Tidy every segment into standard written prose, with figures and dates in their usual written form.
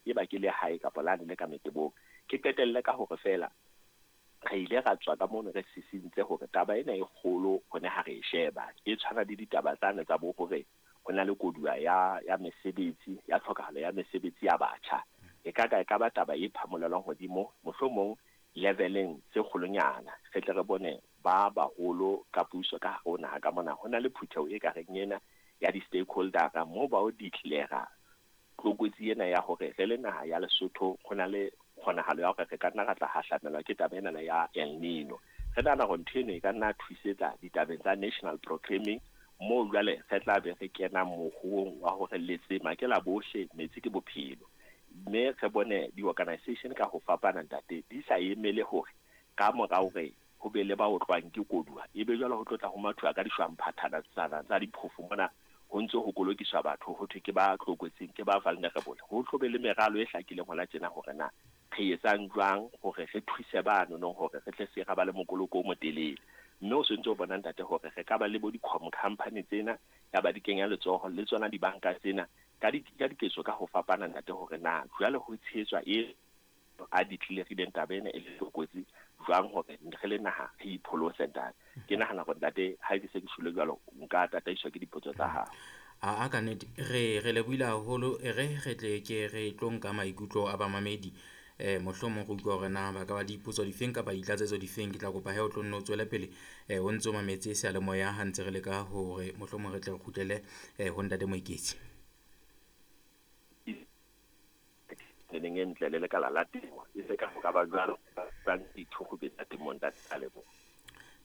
E ba ke le hae kapa lane le ka metebong. Ke qetelle ka hore feela re ile ra tswa ka mono re sisintse hore taba ena e kgolo hone ha re e sheba. E tshwana le ditaba tsane tsa bo hore ho na le koduwa ya mesebetsi, ya tlhokahalo ya mesebetsi ya batjha. E ka ka e ka ba taba e phamolelwang hodimo, mohlomong leveleng tse kgolonyana. Re tle re bone ba baholo ka puso ka hare ho naha ka mona. Ho na le phutheho e ka reng ena ya di-stakeholder-a moo ba o declare-a tlokotsi ena ya hore re le naha ya Lesotho ho na le kgonahalo ya hore re ka nna ra tla hahlamelwa ke taba enana ya El Nino. Re nahana hore ntho eno e ka nna thusetsa ditabeng tsa national proclaiming moo jwale re tla be re kena mohoong wa hore letsema ke la bohle, metsi ke bophelo. Mme re bone di-organization ka ho fapana ntate di sa emele hore ka mora hore ho be le ba otlwang ke koduwa, e be jwale ho tlo tla ho mathuwa ka dishwamphathana tsana tsa diphofo mona, ho ntse ho kolokiswa batho ho thwe ke ba tlokotsing, ke ba vulnerable. Ho tlo be le meralo e hlakileng hona tjena hore na re etsang jwang hore re thuse ba nonong hore re tle se ra ba le mokoloko o motelele. Mme o sentse o bona ntate hore re ka ba le bo di-com company tsena ya ba di kenya letsoho le tsona dibanka tsena ka diketso ka ho fapana ntate hore na jwale ho tshehetswa e a declare-ileng taba ena e le tlokotsi jwang hore re le naha re ipholose ntate. Ke nahana hore ntate ha ke se ke shwele jwalo nka tataiswa ke dipotso tsa hao. A ka nnete re lebohile haholo, e re re tle ke re tlo nka maikutlo a bamamedi. Mohlomong re utlwa hore na ba ka ba dipotso difeng kapa ditlatsetso difeng. Ke tla kopa he o tlo nno o tswele pele o ntso mametse seyalemoya ha ntse re leka hore mohlomong re tle re kgutlele ho ntate Moeketsi. Neng e ntle le lekala la temo e se ka ho ka ba jwalo ba dithugo tsa temo ntate, a leboha.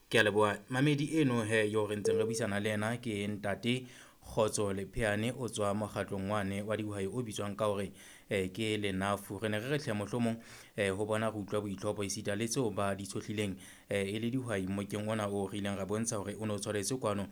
Ke a leboha mamedi eno he yo re ntseng re buisana le yena ke ntate Kgotso Lepheane, o tswa mokgatlong wane wa dihwai o bitswang ka hore ke Lenafu. Re ne re re hle mohlomong ho bona re utlwa boitlhopo esita le tseo ba di tshohlileng e le dihwai mmokeng ona o re ileng ra bontsha hore o ne o tshwaretswe kwano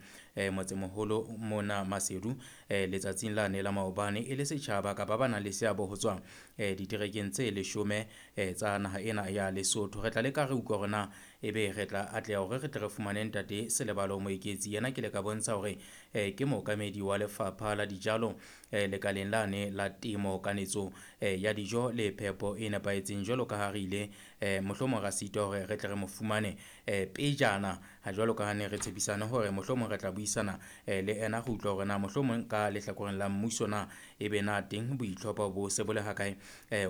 motsemoholo mona Maseru letsatsing lane la maobane e le setjhaba kapa ba nang le seabo ho tswa diterekeng tse 10 tsa naha ena ya Lesotho. Re tla leka re utlwa hore na ebe re tla atleha hore re tle re fumane ntate Selebalo Moeketsi. Yena ke le ka bontsha hore ke mookamedi wa lefapha la dijalo lekaleng lane la temo, kanetso ya dijo le phepo e nepahetseng. Jwalo ka ha re ile mohlomong ra sitwa hore re tle re mo fumane pejana ha jwalo ka ha ne re tshepisane hore mohlomong re tla buisana le ena go utlwa hore na mohlomong ka lehlakoreng la mmuso na ebe na teng boitlhopho bo se bo le hakae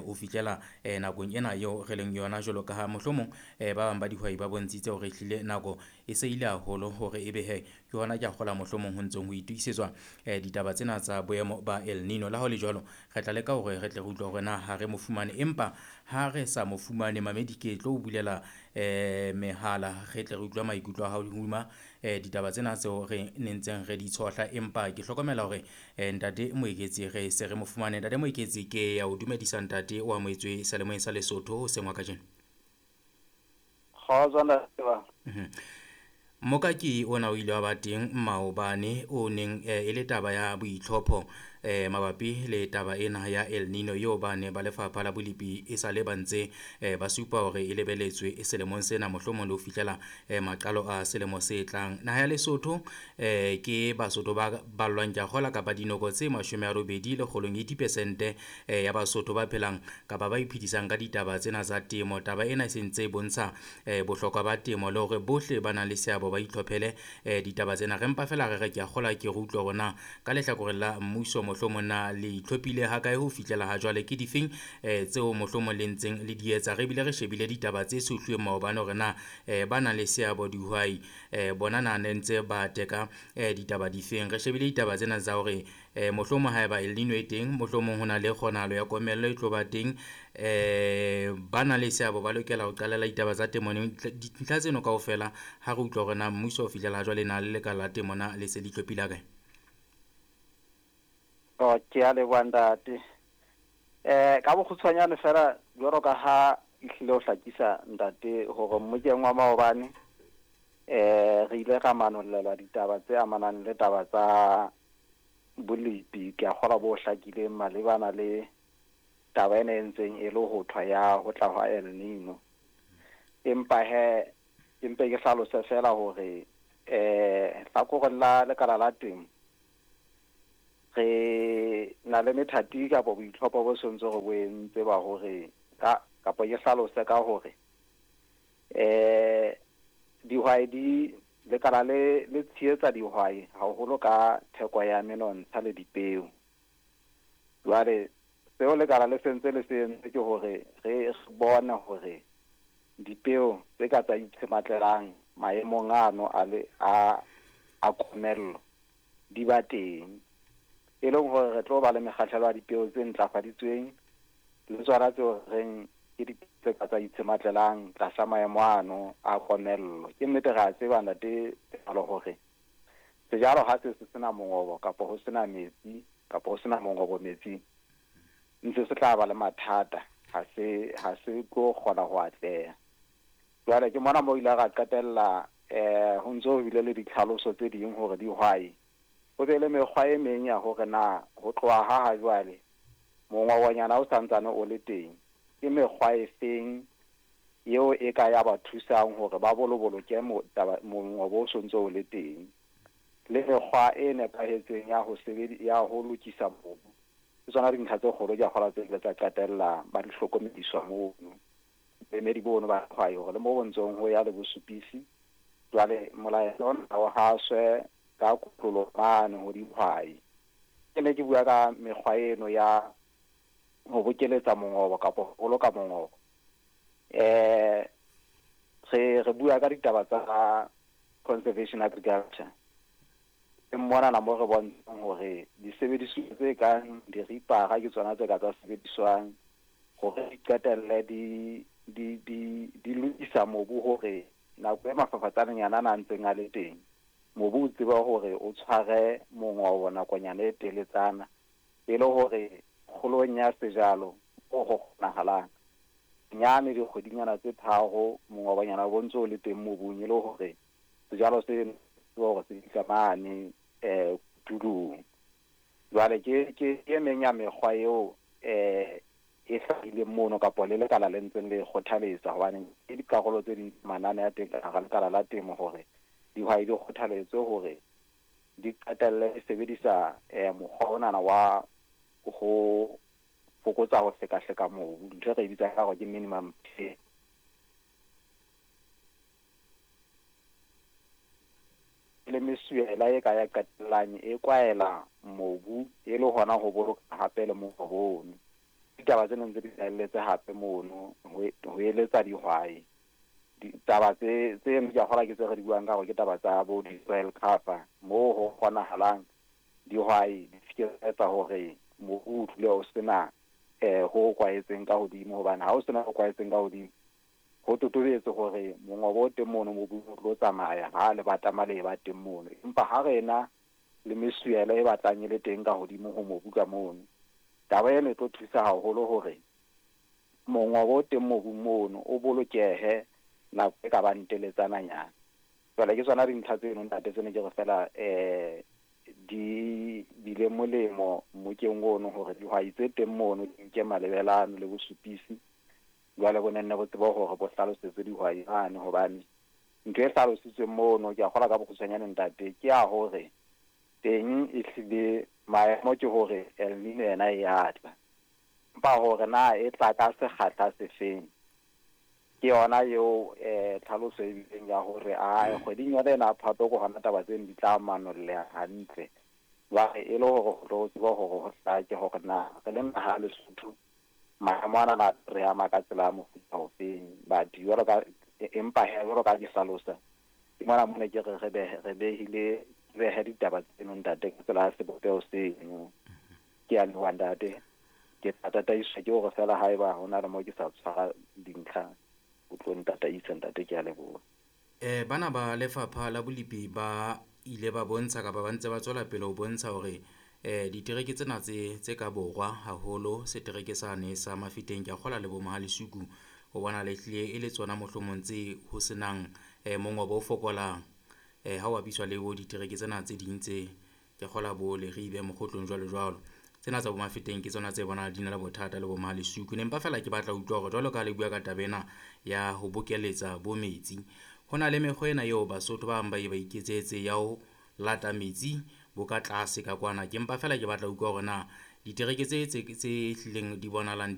o fihlela nakong ena eo re leng yona, jwalo ka ha mohlomong ba bang ba dihwai ba bontshitse hore ehlile nako e se ile haholo hore ebe he ke hona ke a kgola mohlomong ho ntseng ho itokisetswa ditaba tsena tsa boemo ba El Nino. Le ha ho le jwalo, re tla leka hore re tle re utlwe hore na ha re mo fumane, empa ha re sa mo fumane mamedi ke tlo o bulela mehala re tle re utlwe maikutlo a hao hodima ditaba tsena tseo re nentseng re di tshohla. Empa ke hlokomela hore ntate Moeketsi re se re mo fumane. Ntate Moeketsi, ke ya o dumedisa ntate o amohetswe seyalemoyeng sa Lesotho hoseng wa kajeno. Kgotso ntate ba. Mokaki ona o ile wa ba teng maobane o neng e le taba ya boitlhopho mabapi le taba ena ya El Nino eo ba ne ba lefapha la bolepi e sa le ba ntse ba supa hore e lebeletswe selemong sena mohlomong le ho fihlela maqalo a selemo se tlang. Naha ya Lesotho ke Basotho ba ballwang ke a kgola kapa dinoko tse 80 lekgolong 80% ya Basotho ba phelang kapa ba iphedisang ka ditaba tsena tsa temo. Taba ena e sentse e bontsha bohlokwa ba temo le hore bohle ba nang le seabo ba itlhophele ditaba tsena. Re mpa fela re re ke a kgola ke re utlwe hore na ka lehlakoreng la mmuso mohlomong na le itlhophile hakae ho fihlela ha jwale, ke difeng tseo mohlomong le ntseng le di etsa. Re bile re shebile ditaba tse tshohluweng maobane hore na ba nang le seabo dihwai bona na ne ntse ba teka ditaba difeng. Re shebile ditaba tsena tsa hore mohlomong haeba El Nino e teng, mohlomong ho na le kgonahalo ya komello e tlo ba teng, ba nang le seabo ba lokela ho qalela ditaba tsa temo. Dintlha tseno kaofela ha re utlwa hore na mmuso ho fihlela jwale na le lekala la temo na le se le itlhophile hakae. Oh, ke a leboha ntate. Ka bokgutshwanyane fela jwalo ka ha ehlile ho hlakisa ntate hore mmokeng wa maobane re ile ra manollelwa ditaba tse amanang le taba tsa bolepi, ke a kgolwa bo hlakileng malebana le taba ena e ntseng e le ho thwa ya ho tla hwa El Nino. Empa he ke mpe ke hlalose fela hore hlakoreng la lekala la temo Re na le methati kapa boitlhopho bo sentse re bo entse ba hore ka kapa ke hlalose ka hore dihwai di lekala le tshehetsa dihwai haholo ka theko ya menontsha le dipeo. Jwale seo lekala le sentse le se entse ke hore re bone hore dipeo tse ka tsa itshematlelang maemong ano a le a komello di ba teng, e leng hore re tlo ba le mekgahlelo ya dipeo tse ntlafaditsweng le tsona tseo reng ke dipeo tse ka tsa itshematlelang tlasa maemo ano a komello. Ke nnete re a tseba ntate Palo hore sejalo ha se sena mongobo kapa ho sena metsi kapa ho sena mongobo metsing, ntse se tla ba le mathata, ha se tlo kgona ho atleha. Jwale ke mona mo ile ra qetella ho ntso ho bile le ditlhaloso tse ding hore dihwai ho be le mekgwa e meng ya hore na ho tloha ha jwale mongobonyana o santsane o le teng, ke mekgwa e feng eo e ka ya ba thusang hore ba boloboloke mongobo o sontso o le teng, le mekgwa e nepahetseng ya ho ya ho lokisa mobu. Ke tsona dintlha tse kgolo ke a kgolwa tse ile tsa qetella ba di hlokomediswa mono boemedi bono ba dihwai hore le mo bontsong ho ya le bosupisi. Jwale molaetsa ona o haswe ka kotlolo mane ho dihwai. Ke ne ke bua ka mekgwa eno ya ho bokeletsa mongobo kapa ho boloka mongobo. Re bua ka ditaba tsa conservation agriculture. Ke mona na mo re bontshang hore disebediswa tse kang diripara ke tsona tse ka tsa sebediswang hore di qetelle di lokisa mobu hore nako e mafafatsaneng ana a ntseng a le teng, mobu o tseba hore o tshware mongobo nakonyana e teletsana, e le hore kgolong ya sejalo ho kgonahalang nyane dikgwedinyana tse tharo mongobonyana bo ntse o le teng mobung, e le hore sejalo se hore se fihla mane tulong. Jwale ke e meng ya mekgwa eo e hlahileng mono kapa le lekala le ntseng le kgothaletsa, hobane ke dikarolo tse ding manane a teng ka hara lekala la temo hore dihwai di kgothaletswe hore di qetelle di sebedisa mokgwa onana wa ho fokotsa ho hlekahleka mobu, ntho e re e bitsang ka hore ke minimum till. Le mesuela e ka ya qetellang e kwaela mobu e le hona ho boloka hape le mongobo ono. Ditaba tse neng tse di hlahelletse hape mono ho eletsa dihwai. Ditaba tse ke a kgolwa ke tse re di buang ka hore ke taba tsa bo di-soil cover, moo ho kgonahalang dihwai di se ke tsa etsa hore mobu o dule o sena ho kwaetseng ka hodimo, hobane ha o sena ho kwaetseng ka hodimo ho totobetse hore mongobo o teng mono mobung o tlo tsamaya ha le batama le ba teng mono. Empa ha re na le mesuela e batlang e le teng ka hodimo ho mobu ka mono, taba ena e tlo thusa haholo hore mongobo o teng mobung mono o bolokehe nako e ka bang teletsananyana. Jwale ke tsona dintlha tseno ntate tsene ke re fela di bile molemo mmokeng ono hore dihwai tse teng mono di nke malebelano le bosupisi. Jwale bo nenne bo tsebe hore bo hlalosetse dihwai mane, hobane ntho e hlalositsweng mono ke a kgolwa ka bokgutshwanyane ntate ke ya hore teng ehlile maemo ke hore El Nino ena e a tla, empa hore na e tla ka sekgahla sefeng ke yona eo tlhaloso e bileng ya hore a kgweding yona ena Phato ke hona taba tseno di tla manolleha hantle. Jwale e le hore ho tlo tseba hore ho hlake hore na re le naha ya Lesotho maemo ana re ama ka tsela ya mofuta ofeng. But jwalo ka empa he jwalo ka ke hlalosa ke mona mona ke re re behile behe ditaba tseno ntate ka tsela ya sebopeho seno. Ke a leboha ntate, ke tla tataiswa ke hore fela haeba ho na le mo ke sa tshwara dintlha o tlo ntataisa ntate, ke a leboha. Bana ba lefapha la bolipi ba ile ba bontsha kapa ba ntse ba tswela pele ho bontsha hore ditereke tsena tse ka borwa haholo setereke sane sa Mafeteng ke a kgolwa le bo Mohalesuku ho bona le hlile e le tsona mohlomong tse ho senang mongobo o fokolang ha o bapiswa le bo ditereke tsena tse ding tse ke kgolwa bo Leribe Mokgotlong jwalo jwalo. Tsena tsa bo Mafeteng ke tsona tse bonahala di na le bothata le bo Mohalesuku. Ne mpa fela ke batla ho utlwa hore jwalo ka le bua ka taba ena ya ho bokeletsa bo metsi, ho na le mekgwa ena eo Basotho ba bang ba ye ba iketsetse ya ho lata metsi bo ka tlase ka kwana. Ke mpa fela ke batla utlwa hore na ditereke tse tse tse hlileng di bonahalang.